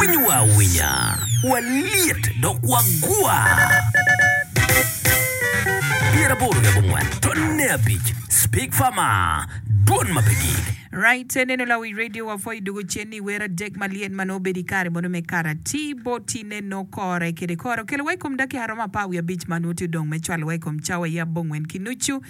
Winyowa awinya, walyet dok wagwa. 84 tonne abic Speak Farmer, Dwon ma pe gik. Right, neno lawic radio wa pwoyo dugo cen ni wer adek malyet ma nongo bedo i kare mono me kare atir boti ne nongo kore kede kore okelo wa i kom dakika romo 15 ma nongo tye odong me cwalo wa i kom cawa i abongwen ki nucu.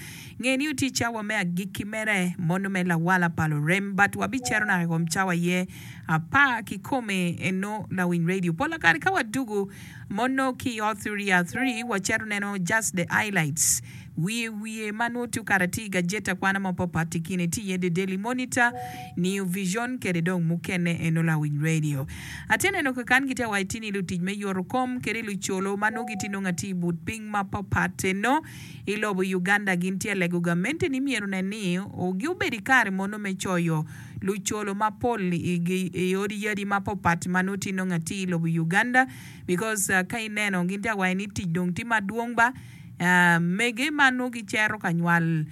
Nge ni otye i cawa me agikki mere mono me lawala pa lurem but wabicero naka i kom cawa aye apar kikome eno lawiny radio. Pola kare ka wadugu mono ki i Authory waceto neno just the highlights wiye wiye ma nwo tye okato atir i gajeti akwana mapapat i kine tye iye The Daily Monitor, New Vision kede dong mukene eno lawiny radio. Atye neno kakan gitye awaci tye ni lutic me yoto kom kede lucolo ma nwo gitye nongo atir i but piny mapapat eno I lobo Uganda gin tye lego gamente ni myero onen ni gi obed i kare mono me coyo lucolo mapol i odi yadi mapopat ma nongo tye nongo atir i lobo Uganda because ka ineno gin tye ka waco ni tic dong tye madwong ba mege ma nongo gicito ka nywal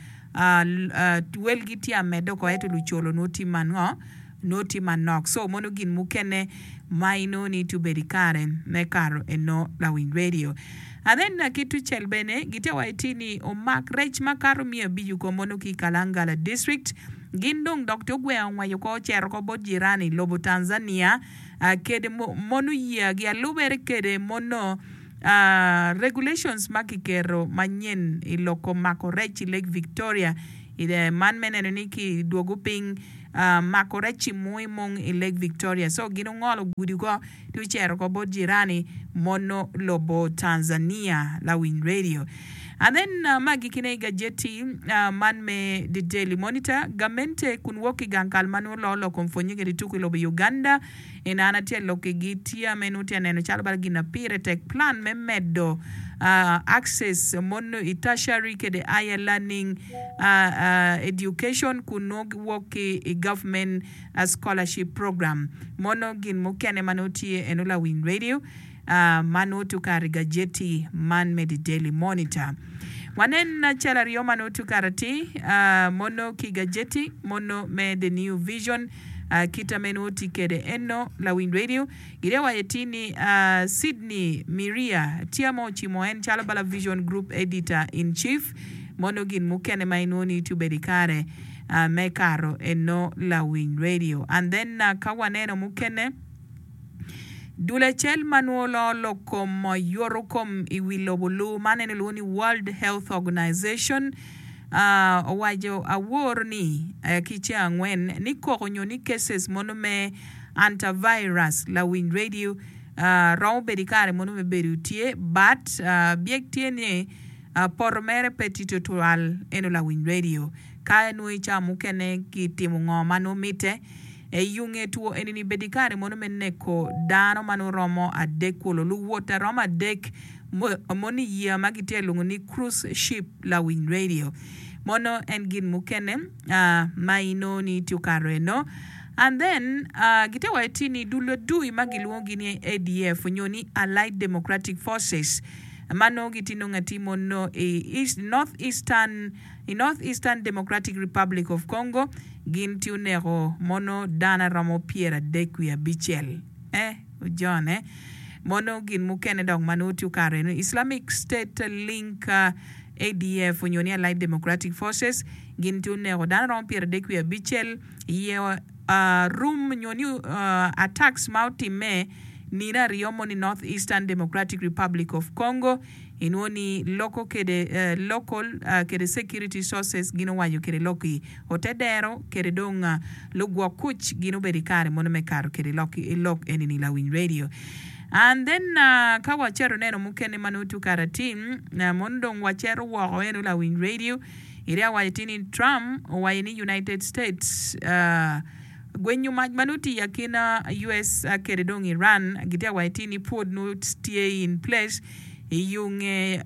welgi tye amedde oko ento lucolo nongo tye mango nongo tye manok so mono gin mukene ma inongo ni tye obedo i kare me kato eno lawiny radio. Anen ki tucel bene gitye wa iti ni omak rec makato 500 ko mono ki i Kalangala District. Gin dong dok tye ogwengo ongweco ko ocito ko bot jirani lobo Tanzania kede mono yia gi alubere kede mono regulations ma kiketo manyen i lok kom mako rec i Lake Victoria man me neno ni ki dwogo piny mako rec i mung i mung i Lake Victoria. So gin ongolo gudi ko Ti ocito ko bot jirani mono lobo Tanzania lawiny radio. And then ma agikine i gajeti man me The Daily Monitor, gamente kun wok ki gang kal ma nongo loo lok kom pwonye kede tuko i lobo Uganda en an atye lok ki gi tye me nongo tye aneno calo bala gin na pire tek plan me medo access mono i tertiary kede higher learning education kun nongo wok ki i government Scholarship Program. Mono gin mukene ma nongo tye eno lawiny radio ma nongo tye okato i gajeti man me The Daily Monitor. Wanen cal aryo ma nongo tye okato atir mono ki gajeti mono me The New Vision kita me nongo tye kede eno lawiny radio. Gitye waco atir ni Sydney Miria tye ma ocimo en calo bala Vision Group Editor in Chief mono gin mukene ma inwongo ni tye obedo ikare me kato eno lawiny radio and then ka waneno mukene dul acel ma nwo loo lok kom yoto kom i wi lobo lu man en ilwongo ni World Health Organization owaco awor ni ki ceng angwen ni koko nyo ni cases mono me antivirus lawiny radio romo bedo ikare mono me bedo tye but byek tye ni poto mere pe tye tutwal eno lawiny radio. Ka nongo i cawa mukene kitimo ngo ma nongo mitte, eyunge two eni-ni bedo i kare mono me neko dano ma nongo romo adek kulu. Luwot a romo adek mono i yeya ma gitye ka lwongo ni cruise ship lawiny radio. Mono en gin mukene ma inongo ni tye okato eno. And then gitye waco ti ni dul adui ma gilwongogi ni ADF nyo ni Allied Democratic Forces ma nongo gitye nongo atir mono i North Eastern I North Eastern Democratic Republic of Congo, gin tye oneko mono dano aromo 35 wiye abicel. Eh, ojone. Mono gin mukene dok ma nongo tye okato eno, Islamic State link ADF onyo ni Allied Democratic Forces, gin tye oneko dano aromo 35 wiye abicel iye rum nyo ni attacks ma otimme nino aryo mono i North Eastern Democratic Republic of Congo. Inwo ni loko kede local kede security sources gin owaco kede lok i ote dero kede dong lugwok kuc gin obedo ikare mono me kato kede lok i lok eni ni lawiny radio and then ka waceto neno mukene ma nongo tye okato atir mono dong waceto woko eno lawiny radio iri awaco atir ni Trump owaco ni United States Gwenyo mac ma nongo tye i akina US kede dong Iran gitye ka waco ni pwod nongo tye in place i yo nge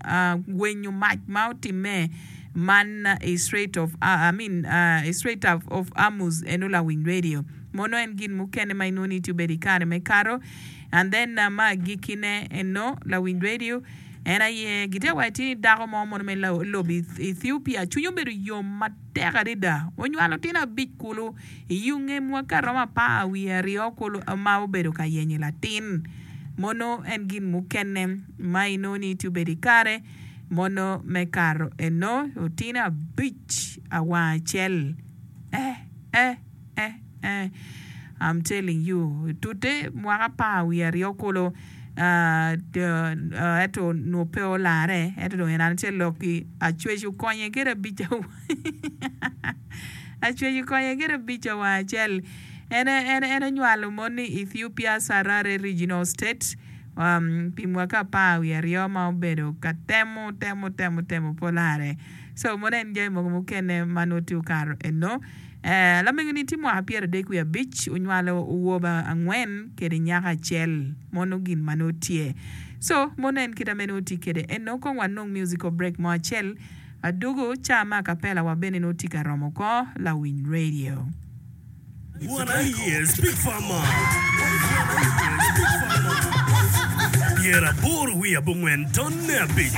gwenyo mac ma otimme man i Strait of I mean i Strait of Hormuz eno lawiny radio mono en gin mukene ma inongo ni tye obedo i kare me kato and then ma agikkine eno lawiny radio. En aye gitye ka waco ni dako mo mono me lobo Ethiopia cwinye obedo yom matek adada. Onywalo tyen abic kulu i yo nge mwaki aromo apar wiye aryo kulu ma obedo ka yenyo latin. Mono en gin mukene ma inongo ni tye obedo i kare mono me kato eno otine abic awang acel. Eh eh eh eh I'm telling you tute mwaka apar wiye aryo kulu ento onongo pe olare ento dong en tye lok ki acwec okonye kede abic acwec okonye kede abic wang acel en en onywalo mon ni Ethiopia Sarare Regional State pi mwaki apar wiye aryo ma obedo ka temo temo temo temo pe olare so mono en jami mogo mukene ma nongo tye okato eno. Lamego-ni tye mwaka pyeradek wiye abic, onywalo awobe angwen kede nyako acel. Mono gin ma nongo tye. So, mono en kite ma nongo tye kede. Eno kong wanong musical break mo acel. Adugu, ca me acapella wa bene nongo tye ka romo oko lawiny radio. Wan aye Speak Farmer. 84 tonne abic.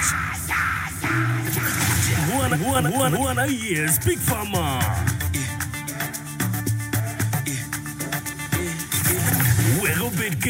Wan aye Speak Farmer.